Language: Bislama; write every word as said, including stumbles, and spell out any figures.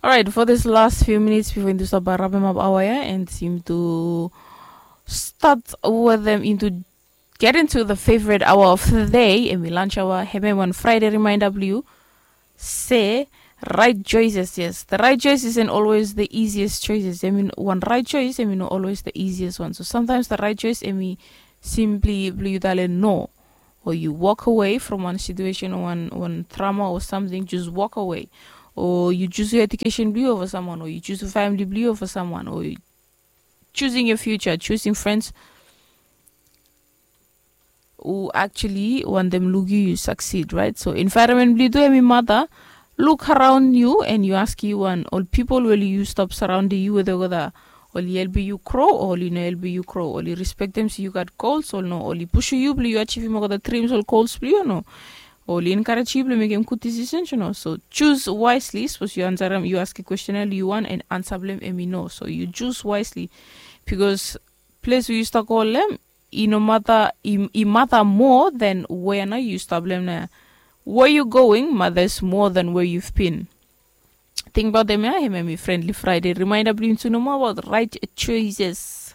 Alright, for this last few minutes before into stop by wrap him up hour ya, and seem to start with them into get into the favorite hour of the day, and we lunch hour. Him one Friday reminder blue. Say right choices, yes. The right choice isn't always the easiest choices. I mean, one right choice, I mean, not always the easiest one. So sometimes the right choice, I mean, simply blue no. Or you walk away from one situation or one, one trauma or something, just walk away. Or you choose your education blue over someone, or you choose your family blue over someone, or you choosing your future, choosing friends who actually want them look you succeed, right? So environment blue do, I mean, mother, look around you and you ask you one, all people will you stop surrounding you with the oli help you grow, oli no help you grow, oli respect them so you got goals, or no, oli push you blue you achieve you the dreams or goals blue, no. Oli encourage you blue make him good decisions, you know. So choose wisely. Suppose you answer them, you ask a question, you want an answer blame, and me no. So you choose wisely, because place where you stuck all them, i no matter, i matter more than where now you stop them now. Where you going matters more than where you've been. Think about them, yeah, him and me friendly Friday. Reminder blue to know more about right choices.